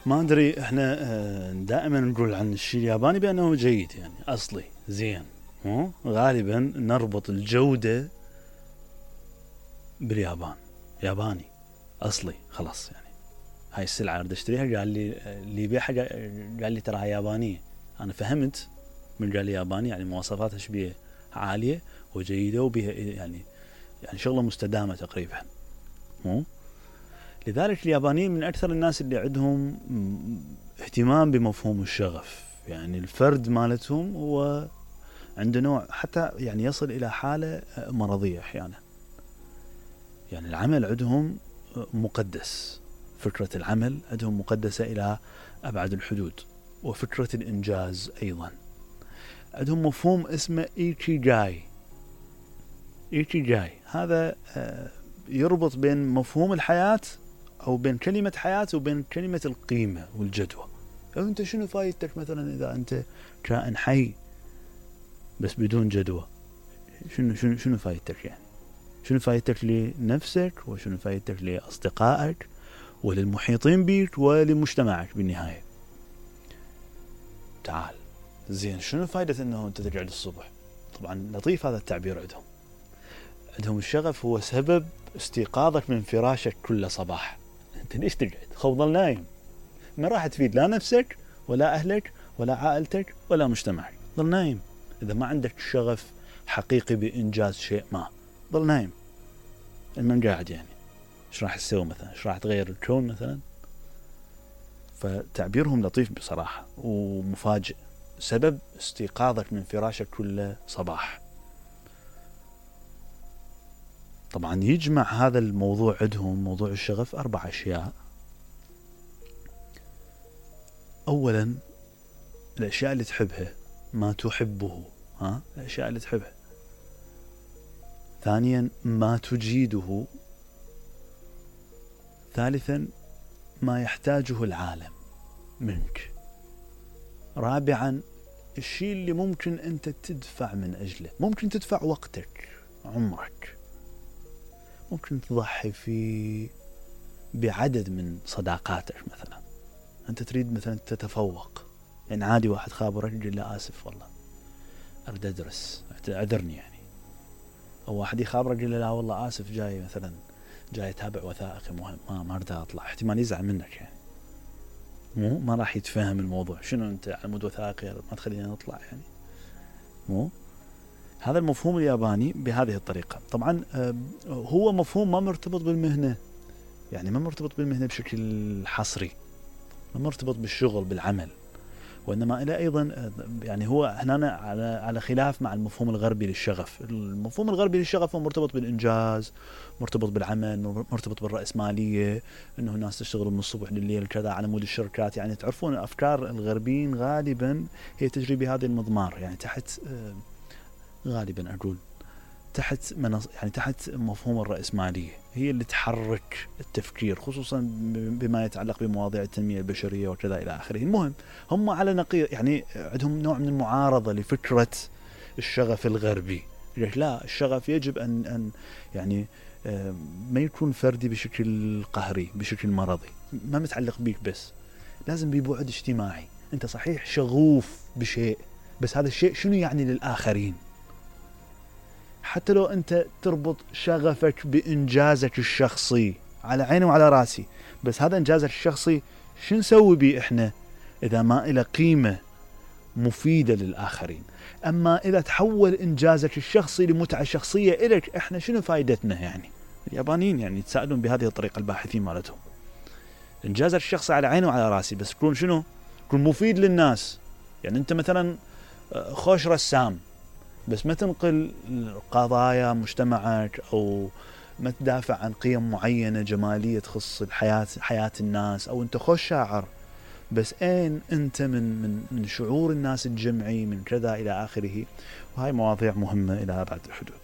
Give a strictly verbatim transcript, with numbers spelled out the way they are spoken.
ما ادري احنا دائما نقول عن الشيء الياباني بانه جيد يعني اصلي زين، مو غالبا نربط الجودة باليابان، ياباني اصلي خلاص. يعني هاي السلعة اريد اشتريها، قال لي اللي يبيعها قال لي تراها يابانية، انا فهمت من قال لي ياباني يعني مواصفاتها شبيه عالية وجيدة وبها يعني يعني شغلة مستدامة تقريبا، مو لذلك اليابانيين من أكثر الناس اللي عندهم اهتمام بمفهوم الشغف. يعني الفرد مالتهم هو عنده نوع حتى يعني يصل إلى حالة مرضية أحيانا. يعني العمل عندهم مقدس، فكرة العمل عندهم مقدسة إلى أبعد الحدود، وفكرة الإنجاز أيضا. عندهم مفهوم اسمه إيكيغاي. إيكيغاي هذا يربط بين مفهوم الحياة أو بين كلمة حياة وبين كلمة القيمة والجدوى. أو أنت شنو فايدتك مثلا إذا أنت كائن حي بس بدون جدوى؟ شنو شنو شنو فايدتك يعني؟ شنو فايدتك لنفسك وشنو فايدتك لأصدقائك وللمحيطين بك ولمجتمعك بالنهاية؟ تعال زين، شنو فايدة أنه أنت تقعد الصبح؟ طبعا لطيف هذا التعبير عندهم. عندهم الشغف هو سبب استيقاظك من فراشك كل صباح. أنت ليش تقعد؟ خو ظل نايم، ما راح تفيد لا نفسك ولا أهلك ولا عائلتك ولا مجتمعك. ظل نايم إذا ما عندك شغف حقيقي بإنجاز شيء ما، ظل نايم. من قاعد يعني إيش راح تسوي مثلا؟ إيش راح تغير الكون مثلا؟ فتعبيرهم لطيف بصراحة ومفاجئ، سبب استيقاظك من فراشك كل صباح. طبعا يجمع هذا الموضوع عندهم موضوع الشغف أربع أشياء. أولا الأشياء اللي تحبها، ما تحبه، ها الأشياء اللي تحبها. ثانيا ما تجيده. ثالثا ما يحتاجه العالم منك. رابعا الشيء اللي ممكن أنت تدفع من أجله. ممكن تدفع وقتك، عمرك، ممكن تضحي في بعدد من صداقاتك. مثلا أنت تريد مثلا تتفوق، يعني عادي واحد خابرك يقول له آسف والله أريد أدرس أعذرني يعني. أو واحد يخابرك يقول له لا والله آسف جاي مثلا جاي أتابع وثائقي مهم ما ما أريد أطلع، احتمال يزعل منك يعني، مو ما راح يتفهم الموضوع. شنو أنت على مود وثائقي ما تخلينا نطلع يعني؟ مو هذا المفهوم الياباني بهذه الطريقة. طبعا هو مفهوم ما مرتبط بالمهنة، يعني ما مرتبط بالمهنة بشكل حصري، ما مرتبط بالشغل بالعمل، وإنما إلى أيضا يعني هو هنا على على خلاف مع المفهوم الغربي للشغف. المفهوم الغربي للشغف هو مرتبط بالإنجاز، مرتبط بالعمل، مرتبط بالرأسمالية، إنه الناس تشتغل من الصبح لليل كذا على مود الشركات. يعني تعرفون أفكار الغربيين غالبا هي تجري بهذه المضمار، يعني تحت غالبا أقول تحت منص يعني تحت مفهوم الرأسمالية، هي اللي تحرك التفكير، خصوصا بما يتعلق بمواضيع التنمية البشرية وكذا إلى آخره. المهم هم على نقيض، يعني عندهم نوع من المعارضة لفكرة الشغف الغربي. لا، الشغف يجب أن أن يعني ما يكون فردي بشكل قهري بشكل مرضي، ما متعلق بيك بس، لازم ببعد اجتماعي. أنت صحيح شغوف بشيء، بس هذا الشيء شنو يعني للآخرين؟ حتى لو أنت تربط شغفك بإنجازك الشخصي، على عيني وعلى راسي، بس هذا إنجازك الشخصي شو نسوي به إحنا إذا ما إلى قيمة مفيدة للآخرين؟ أما إذا تحول إنجازك الشخصي لمتعة شخصية إليك، إحنا شنو فايدتنا يعني؟ اليابانيين يعني يتساءلون بهذه الطريقة الباحثين مالتهم. إنجازك الشخصي على عيني وعلى راسي، بس يكون شنو؟ يكون مفيد للناس. يعني أنت مثلا خوش رسام، بس ما تنقل قضايا مجتمعك أو ما تدافع عن قيم معينة جمالية تخص الحياة حياة الناس، أو أنت خوش شاعر، بس أين أنت من من من شعور الناس الجمعي من كذا إلى آخره. وهاي مواضيع مهمة إلى أبعد الحدود.